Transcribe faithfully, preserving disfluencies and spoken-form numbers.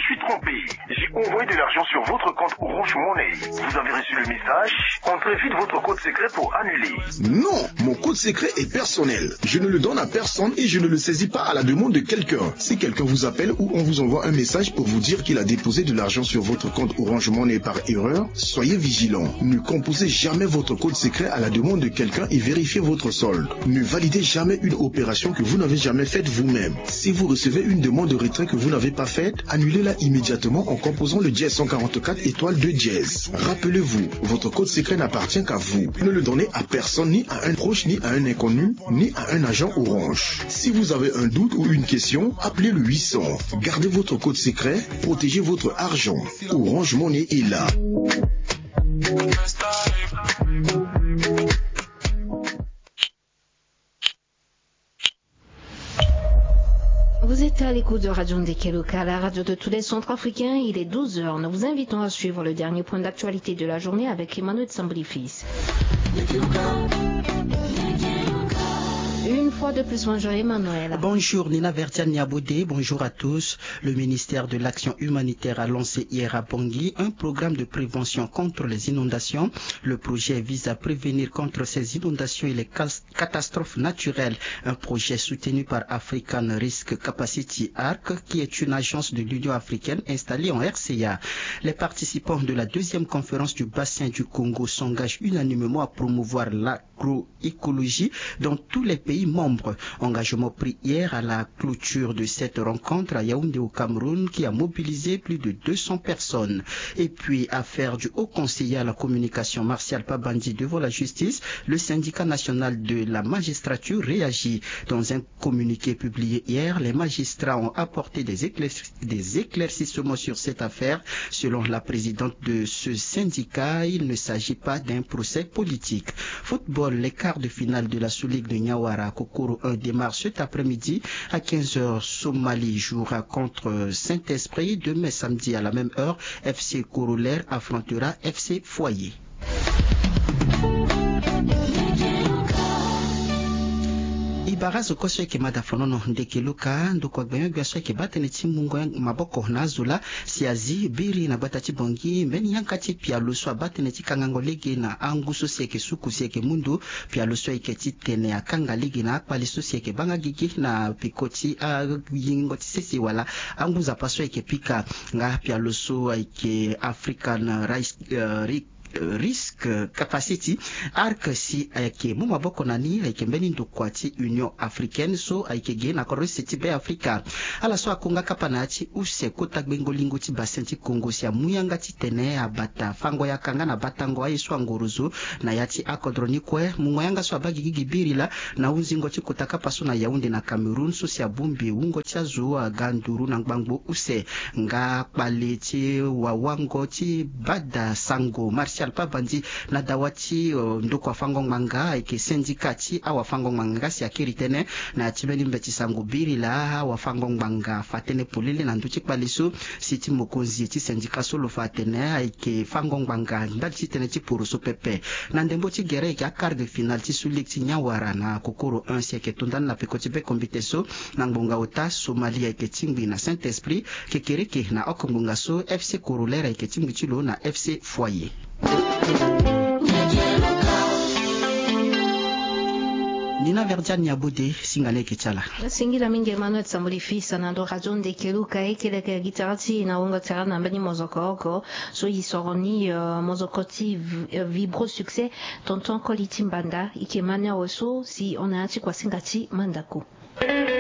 suis trompé. J'ai envoyé de l'argent sur votre compte Orange Money. Vous avez reçu le message. Entrez vite votre code secret pour annuler. Non, mon code secret est personnel. Je ne le donne à personne et je ne le saisis pas à la demande de quelqu'un. Si quelqu'un vous appelle ou on vous envoie un message pour vous dire qu'il a déposé de l'argent sur votre compte Orange Money par erreur, soyez vigilant. Ne composez jamais votre code secret à la demande de quelqu'un et vérifiez votre solde. Ne validez jamais une opération que vous n'avez jamais faite vous-même. Si vous recevez une demande de retrait que vous n'avez pas faite, annulez-la immédiatement en composant le dièse cent quarante-quatre étoile deux dièse. Rappelez-vous, votre code secret n'appartient qu'à vous. Ne le donnez à personne, ni à un proche, ni à un inconnu, ni à un agent Orange. Si vous avez un doute ou une question, appelez le huit cents. Gardez votre code secret, protégez votre argent. Orange Money est là. Vous êtes à l'écoute de Radio Ndekeloka, la radio de tous les centrafricains. Il est douze heures. Nous vous invitons à suivre le dernier point d'actualité de la journée avec Emmanuel Sambolifis. Une fois de plus, bonjour Emmanuel. Bonjour Nina Vertiane Niabodé, bonjour à tous. Le ministère de l'Action humanitaire a lancé hier à Bangui un programme de prévention contre les inondations. Le projet vise à prévenir contre ces inondations et les catastrophes naturelles. Un projet soutenu par African Risk Capacity Arc, qui est une agence de l'Union africaine installée en R C A. Les participants de la deuxième conférence du bassin du Congo s'engagent unanimement à promouvoir l'agroécologie dans tous les pays membres. Engagement pris hier à la clôture de cette rencontre à Yaoundé au Cameroun, qui a mobilisé plus de deux cents personnes. Et puis, affaire du haut conseiller à la communication, Martial Pabandji, devant la justice, le syndicat national de la magistrature réagit. Dans un communiqué publié hier, les magistrats ont apporté des éclaircissements sur cette affaire. Selon la présidente de ce syndicat, il ne s'agit pas d'un procès politique. Football, les quarts de finale de la Sous-Ligue de Niawara Kokoro un démarre cet après-midi à quinze heures. Somalie jouera contre Saint-Esprit. Demain samedi à la même heure, F C Corollaire affrontera F C Foyer. I bara zo kue so ayeke mada fonono ndeke luka ndokua gbenyo-gbia so ayeke baa tënë ti mungo maboko na azo laa si azi biri na gbata ti Bangui mbeni yanga ti pialo so abaa tënë ti kangango lege na angu so si ayeke suku si ayeke mu ndo. Pialo so ayeke ti tene akanga lege na akpale so si ayeke baa nga gigi na peko ti ayingo ti sese wala angu nzapa so ayeke pika. Nga pialo so ayeke African Rice Risk Capacity Arc si ayeke mu maboko na ni ayeke mbeni ndokua ti Union Africaine so ayeke ge na kodro use ti Be Afrika. Ala so akonga kapa na ya ti use kota gbengo lingo ti bassin ti Congo si amu yanga ti tene abata fango yaka nga na batango aye so angorozo na ya ti akodro ni kue. Mungo yanga so abaa gigi gi biri laa na hunzingo ti kota kapa so na Yaoundé na Cameroun so si abongbi wungo ti azo aga nduru na ngbangbo use. Nga kpale ti wawango ti bada sango Martial Pabandji na dawa ti ndokua fango ngbanga ayeke syndicat ti awafango ngbanga nga si akiri tënë na ya ti mbeni mbeti sango biri laa awafango ngbanga afa tënë polele na ndö ti kpale so si ti mokonzi ti syndicat so lo fa atene ayeke fango ngbanga ndali ti tënë ti poroso pepe. Na ndembo ti gere ayeke aquart de finale ti Sous-Ligue ti Niawara na Kokoro un si ayeke to ndani na peko ti be kombite so. Na ngbonga ota Somalie ayeke tingbi na Saint-Esprit. Kekereke na oko ngbonga so F C Corollaire ayeke tingbi ti lo na F C Foyer. Nina Verdiane Niabode, singa ni ayeke ti ala. Singila mingi Emmanuel Samboli Fils na ndo radio Ndekeluka. E yeke leke gi tara ti e na wungo tara na mbeni mozoko oko so e soro ni, mozoko ti Vibro Succès. Tonton koli ti mbanda, e yeke ma ni awe so si hon na ya ti kuasinga ti mandako.